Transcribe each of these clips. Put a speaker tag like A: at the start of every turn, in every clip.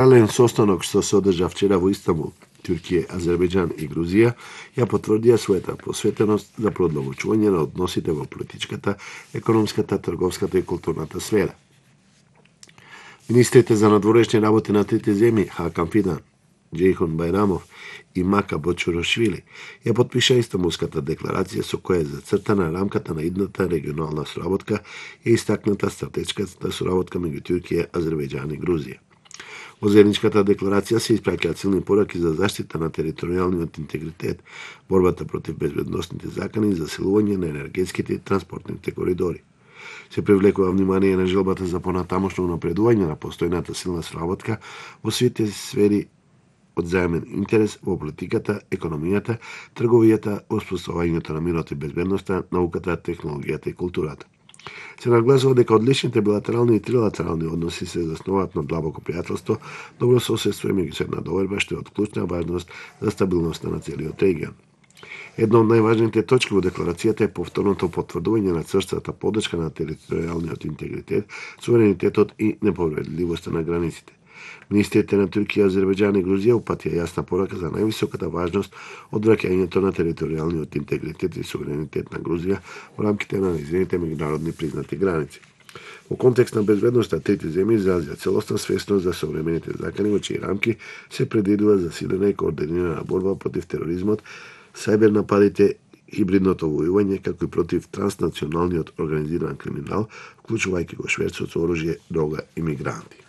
A: Паралелен состанок што се одржа вчера во Истанбул, Туркија, Азербејџан и Грузија ја потврдија својата посветеност за продолжување на односите во политичката, економската, трговската и културната сфера. Министрите за надворешни работи на трите земји, Хакан Фидан, Џејхон Бајрамов и Мака Бочурошвили, ја потпиша Истанбулската декларација со која е зацртана рамката на идната регионална соработка и истакната стратешката соработка меѓу Туркија, Азербејџан и Грузија. Во заедничката декларација се испраќаат силни пораки за заштита на територијалниот интегритет, борбата против безбедносните закани и засилување на енергетските и транспортните коридори. Се привлекува внимание на желбата за понатамошно напредување на постојната силна соработка во сите сфери од заемен интерес во политиката, економијата, трговијата, воспоставувањето на мирот и безбедноста, науката, технологијата и културата. Се нагласува дека одличните билатерални и трилатерални односи се заснуваат на длабоко пријателство, добро соседство и меѓусебна доверба што е од клучна важност за стабилноста на целиот регион. Една од најважните точки во декларацијата е повторното потврдување на црстата поддршка на територијалниот интегритет, суверенитетот и неповредливоста на границите. Министрите на Туркија, Азербејџан и Грузија упатија јасна порака за највисоката важност од враќањето на територијалниот интегритет и суверенитет на Грузија во рамките на нејзините меѓународни признати граници. Во контекст на безбедноста, трите земји изразија целосна свесност за современите закани во чии рамки се предвидува засилена и координирана борба против тероризмот, сајбер нападите, хибридното војување, како и против транснационалниот организиран криминал, вклучувајќи го шверцот со оружје, дрога и мигранти.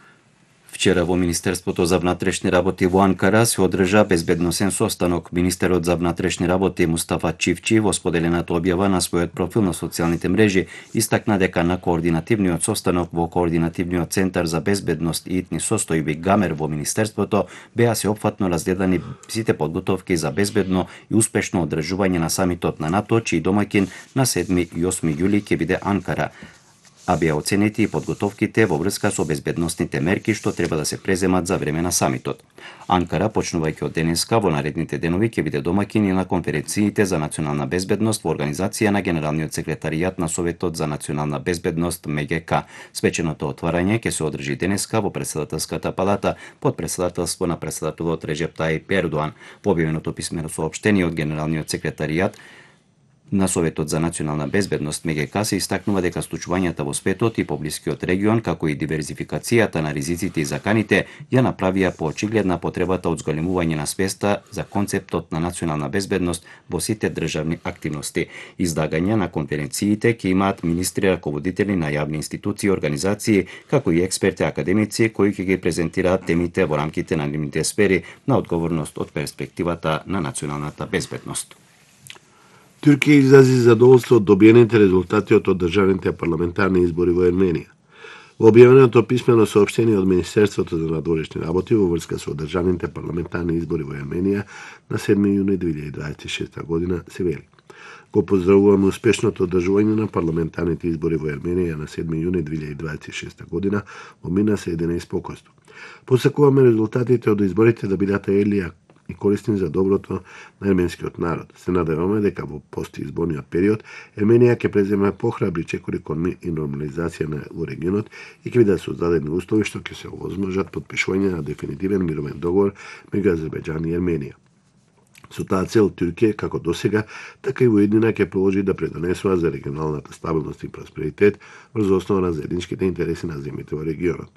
B: Вчера во Министерството за внатрешни работи во Анкара се одржа безбедносен состанок. Министерот за внатрешни работи Мустафа Чивчи во споделената објава на својот профил на социјалните мрежи истакна дека на координативниот состанок во Координативниот центар за безбедност и итни состојби ГАМЕР во Министерството беа сеопфатно разгледани сите подготовки за безбедно и успешно одржување на самитот на НАТО, чиј домаќин на 7 и 8 јули ќе биде Анкара, а беа оценети и подготовките во врска со безбедносните мерки што треба да се преземат за време на самитот. Анкара, почнувајќи од денеска, во наредните денови ќе биде домаќин и на конференциите за национална безбедност во организација на Генералниот секретаријат на Советот за национална безбедност МГК. Свеченото отварање ќе се одржи денеска во Претседателската палата под претседателство на претседателот Реџеп Тајип Ердоан. Во објавеното писмено соопштение од Генералниот секретаријат на Советот за национална безбедност МГК се истакнува дека случувањата во светот и поблискиот регион, како и диверзификацијата на ризиците и заканите, ја направија поочигледна потребата од зголемување на свеста за концептот на национална безбедност во сите државни активности. Издагања на конференциите ќе имаат министри раководители на јавни институции и организации, како и експерти академици кои ќе ги презентираат темите во рамките на нивните сфери на одговорност од перспективата на националната безбедност.
A: Туркија изрази задоволство од добиените резултати од одржаните парламентарни избори во Ерменија. Во објавеното писмено соопштение од Министерството за надворешни работи во врска со одржаните парламентарни избори во Ерменија на 7 јуни 2026 година се вели: Го поздравуваме успешното одржување на парламентарните избори во Ерменија на 7 јуни 2026 година во мирна средина и спокојство. Посакуваме резултатите од изборите да бидат елија и корисни за доброто на ерменскиот народ. Се надеваме дека во постизборниот период Ерменија ќе преземе похрабри чекори кон мир и нормализација во регионот и ќе бидат создадени услови што ќе се овозможат потпишување на дефинитивен мировен договор меѓу Азербејџан и Ерменија. Со таа цел Туркија, како досега, така и воеднина ќе продолжи да предонесува за регионалната стабилност и просперитет врз основа на заедничките интереси на земјите во регионот.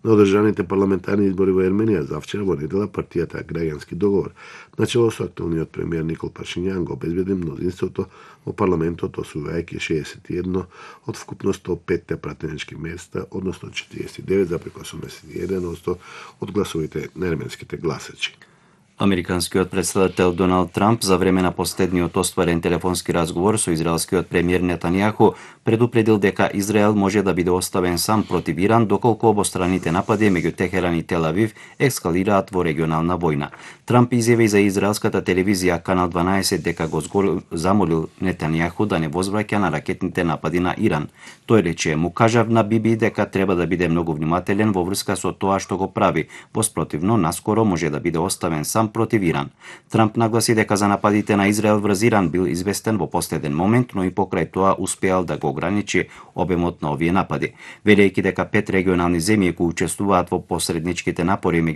A: На одржаните парламентарни избори во Ерменија завчера во недела партијата Граѓански договор, начело со актуелниот премиер Никол Пашињан, го обезбеди мнозинството во парламентот, освојувајќи 61 од вкупно 105 пратенички места, односно 49,81% од гласовите на ерменските гласачи.
B: Американскиот претседател Доналд Трамп за време на последниот остварен телефонски разговор со израелскиот премиер Нетањаху предупредил дека Израел може да биде оставен сам против Иран доколку обостраните напади меѓу Техеран и Тел Авив ескалираат во регионална војна. Трамп изјави за израелската телевизија Канал 12 дека го замолил Нетањаху да не возвраќа на ракетните напади на Иран. Тој рече: "Му кажав на Биби дека треба да биде многу внимателен во врска со тоа што го прави, во спротивно наскоро може да биде оставен сам против Иран." Трамп нагласи дека за нападите на Израел врз Иран бил известен во последен момент, но и покрај тоа успеал да го ограничи обемот на овие напади, велејќи дека 5 регионални земји кои учествуваат во посредничките напори